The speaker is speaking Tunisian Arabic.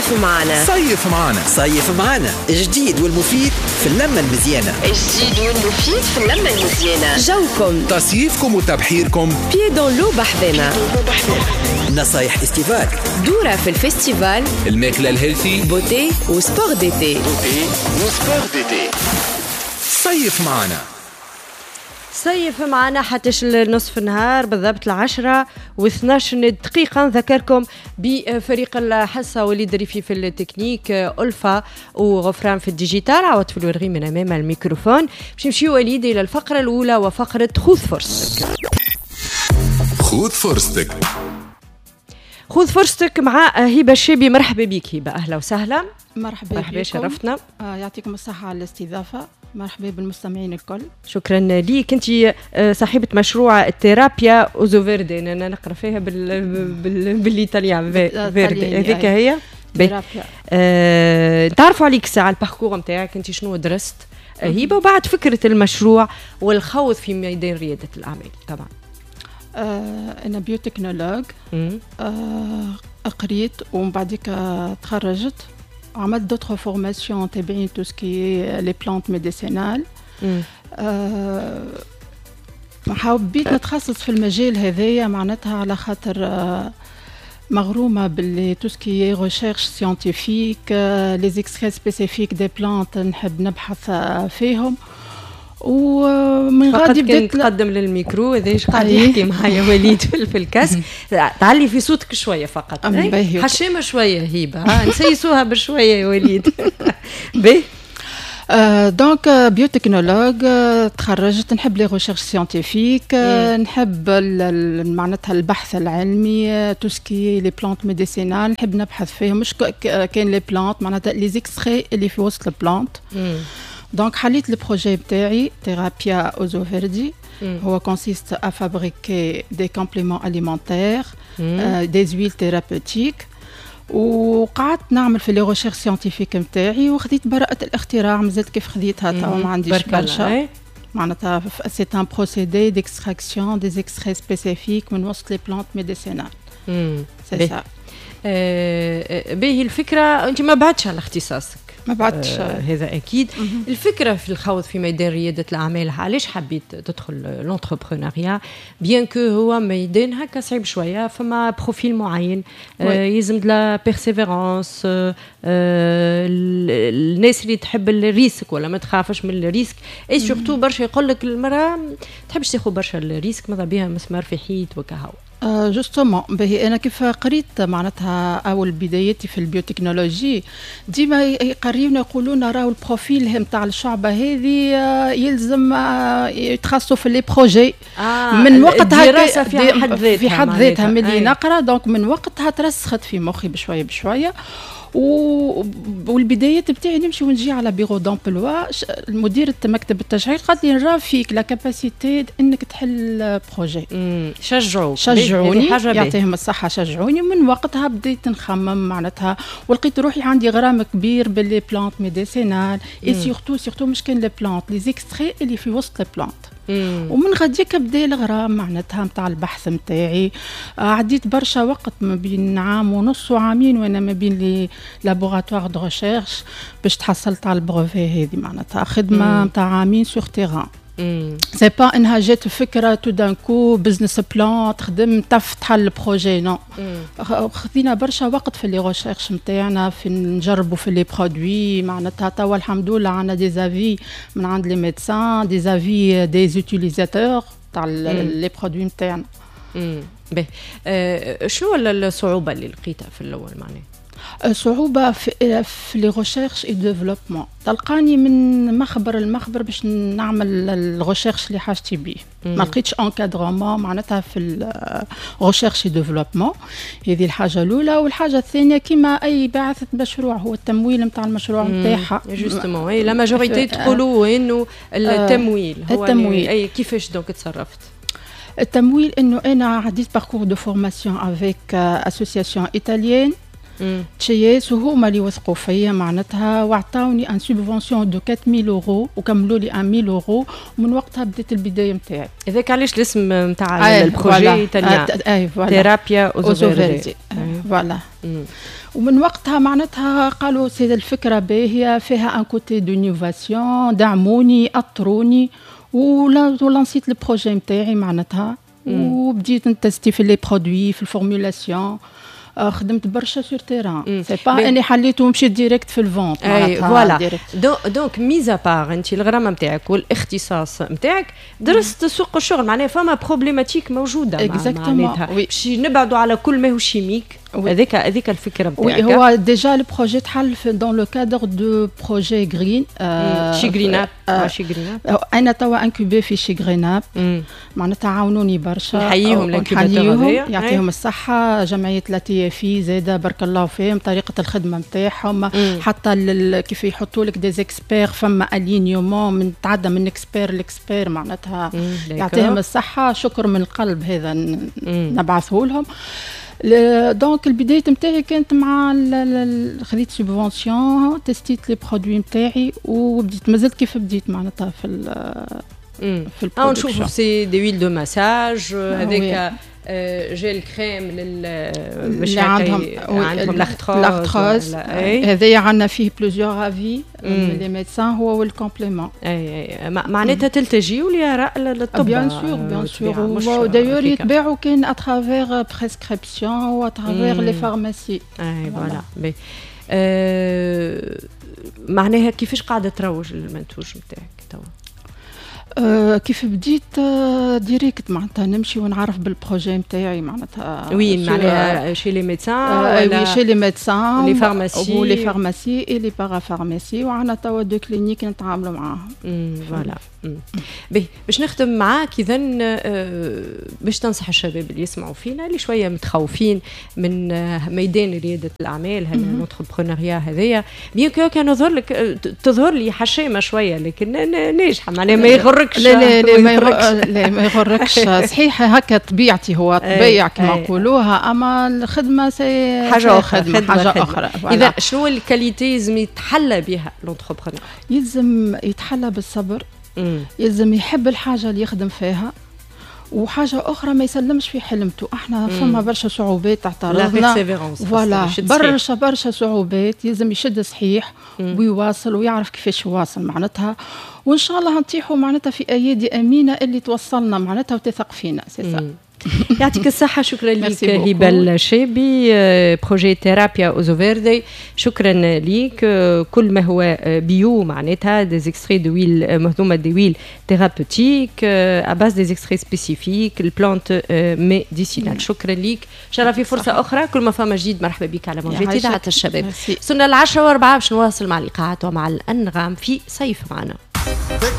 صيف معنا. صيف معنا. صيف معنا، الجديد والمفيد في اللمة المزيانة. الجديد والمفيد في اللمة المزيانة. جوكم، تصيفكم وتبحيركم، pieds dans l'eau بحذنا. نصايح estivales، دورة في ال festival، الماكلة ال healthy، beauté و sport d'été. beauté و sport d'été. صيف معنا. صيف معنا حتى نصف النهار بالضبط 10:12. نذكركم بفريق الحصة: وليد ريفي في التكنيك، ألفا وغفران في ال digital، عوض في الورغي من أمام الميكروفون. باش نمشيو وليد إلى الفقرة الأولى وفقرة خذ فرصتك. خذ فرصتك. خذ فرصتك مع هبة الشابي. مرحبا بك هبة، أهلا وسهلا. مرحبا. مرحبا، شرفتنا. يعطيكم الصحة على الاستضافة، مرحبا بالمستمعين الكل. شكرا ليك. انت صاحبة مشروع التيرابيا اوزو فيردي، انا نقرا فيها بال italien verde، هذيك هي تيرابيا. تعرفوا عليك ساعة ال parcours نتاعك، انت شنو درست هبة، وبعد فكرة المشروع والخوض في ميدان ريادة الأعمال طبعا. أنا biotechnologue، قريت ومن بعديك تخرجت، عملت d'autres formations تابعين tout ce qui est les plantes médicinales. حبيت نتخصص في المجال هذايا معناتها على خاطر مغرومة باللي tout ce qui est recherche scientifique، les extraits spécifiques des plantes، نحب نبحث فيهم. ومن غادي بديت تقدم للميكرو، هذا ايش قاعد يحكي معايا وليد في ال casque. تعلي في صوتك شوية فقط، حشامه شوية هيبه، نسيسوها بشوية يا وليد. باهي. donc biotechnologue تخرجت، نحب les recherches scientifiques، نحب معناتها البحث العلمي، tout ce qui est les plantes médicinales نحب نبحث فيهم، مش كان les plantes، معناتها les extraits اللي في وسط ال plante. donc حليت ال projet بتاعي تيرابيا اوزو فيردي، هو consiste à fabriquer des compléments alimentaires، des huiles thérapeutiques. وقعدت نعمل في les recherches scientifiques نتاعي وخذيت براءة الاختراع، مازلت كيف خذيتها توا، ما عنديش برشا. معناتها c'est un procédé d'extraction des extraits spécifiques من وسط les plantes médicinales، c'est ça. باهي، الفكرة انت ما بعدش على اختصاصك. ما بعدش. هذا اكيد. الفكرة في الخوض في ميدان رياده الاعمال، علاش حبيت تدخل l'entrepreneuriat، bien que هو ميدان هكا صعيب شويه، فما profil معين، يلزم la persévérance، الناس اللي تحب ال risque ولا ما تخافش من ال risque، et surtout برشا يقول لك المراة ما تحبش تاخذ برشا ال risque، ماذا بها مسمار في حيط وكهو. justement، باهي، انا كيف قريت معناتها اول بدايتي في ال biotechnologie، ديما يقريونا يقولوا لنا راهو ال profil نتاع الشعبة هذه يلزم يتخصصوا في les projets. من وقتها الدراسة في حد ذاتها. في حد ذاتها، ملي نقرا، donc من وقتها ترسخت في مخي بشوية بشويه. والبدايات بتاعي نمشي ونجي على bureau d'emploi، المديرة مكتب التشغيل قالت لي نرى فيك la capacité انك تحل projet. شجعوك. شجعوني، يعطيهم الصحه، شجعوني. من وقتها بديت نخمم معناتها ولقيت روحي عندي غرام كبير ب les plantes médicinales، et surtout surtout مش كان les plantes، les extraits اللي في وسط ال plantes. ومن غاديك بدا الغرام معناتها نتاع البحث نتاعي. عديت برشا وقت، ما بين عام ونص وعامين، وانا ما بين les laboratoires de recherche باش تحصلت على ال brevet هذه. معناتها خدمة نتاع عامين sur terrain، c'est pas انها جات فكرة tout d'un coup، business plan تخدم تفتح ال projet، non، خذينا برشا وقت في les recherches نتاعنا، في نجربوا في les produits. معناتها توا الحمد لله عندنا des avis من عند les médecins، des avis des utilisateurs تاع les produits نتاعنا. باهي، شنو الصعوبة اللي لقيتها في الاول معناها؟ صعوبة في les recherches et développement، تلقاني من مخبر المخبر باش نعمل ال recherche اللي حاجتي بيه، ما لقيتش encadrement معناتها في ال recherche et développement. هذه الحاجة الأولى، والحاجة الثانية كما أي باعثة مشروع هو التمويل نتاع المشروع نتاعها. justement، اي la majorité تقولوا انه التمويل هو التمويل. اي، كيفاش donc تصرفت؟ التمويل انه انا عديت parcours de formation avec association italienne. HIS، وهما اللي وثقوا فيا معناتها وعطاوني une subvention de 4000 اورو وكملوا لي 1000 اورو، ومن وقتها بديت البداية نتاعي. هذاك علاش الاسم نتاع ال projet italien Terapia Oso Verde. voilà، ومن وقتها معناتها قالوا c'est الفكرة باهيه، فيها un côté d'innovation، دعموني، اطروني و lancيت ال projet نتاعي معناتها، وبديت ن tester في les produits، في ال formulation. خدمت برشا sur terrain، c'est pas اني حليت ومشيت direct في ال vente. اي voilà، donc mis à part انت الغرامة نتاعك والاختصاص نتاعك، درست سوق الشغل، معناها فما problématique موجوده، معناتها باش نبعدوا على كل ما هو chimique. هذيك الفكرة نتاعك. oui، هو déjà ال projet تحل dans le cadre de projet Green. She Green Up، She Green Up. انا توا incubée في She Green Up، معناتها عاونوني برشا. نحييهم. نحييهم، يعطيهم الصحه. جمعية l'ATFI زاده بارك الله فيهم، طريقه الخدمة نتاعهم، حتى كيف يحطوا لك des experts، فما alignement من تعدى من expert ل expert، معناتها يعطيهم الصحه، شكر من القلب هذا نبعثه لهم. donc البداية نتاعي كانت مع خذيت subvention، testيت les produits نتاعي وبديت، مازلت كيف بديت معناتها في ال production. نشوفوا c'est des huiles de massage، هذاك gel crème لل باش اللي عندهم l'arthrose. هذايا عندنا فيه plusieurs avis من les médecins، هو وال complément. اي، معناتها تلتجيو لاراء الطب. bien sûr، bien sûr، d'ailleurs يتباعوا كان à travers prescription و à travers les pharmacies. اي voilà، معناها كيفاش قاعدة تروج المنتوج نتاعك توا؟ كيف بديت direct معناتها نمشي ونعرف بال projet نتاعي معناتها. وين معناها؟ chez les médecins؟ oui، chez les médecins، les pharmacies. و les pharmacies et les parapharmacies، وعندنا توا deux cliniques نتعاملوا معاهم. voilà، باهي، باش نختم معاك اذا، باش تنصح الشباب اللي يسمعوا فينا، اللي شوية متخوفين من ميدان رياده الاعمال، هذا l'entrepreneuriat هذايا، bien que كان يظهر لك تظهر لي حشامه شويه، لكن ناجحه، معناها ما يغركش. لا لا لا، ما لا ما يغركش. صحيح هكا طبيعتي، هو طبيع كما نقولوها، اما الخدمة c'est حاجة اخرى. حاجة اخرى. اذا شنو ال qualités لازم يتحلى بها l'entrepreneur؟ يلزم يتحلى بالصبر، يلزم يحب الحاجة اللي يخدم فيها، وحاجه اخرى ما يسلمش في حلمته. احنا فما برشا صعوبات تعترضنا، voilà، برشا برشا صعوبات، يلزم يشد صحيح ويواصل ويعرف كيفاش يواصل معناتها، وان شاء الله نطيحوا معناتها في ايادي امينه اللي توصلنا معناتها وتثق فينا، c'est ça. يعطيك الصحة، شكرا لك هبة الشابي، projet Terapia Oso Verde، شكرا لك. كل ما هو bio، معناتها des extraits d'huiles مهضومة، des huiles thérapeutiques à base des extraits spécifiques ال plantes médicinales. شكرا لك، شرف في فرصة أخرى، كل ما فما جديد مرحبا بك على موجات إذاعة الشباب. وصلنا 10:04، باش نواصل مع الإيقاعات ومع الأنغام في صيف معنا.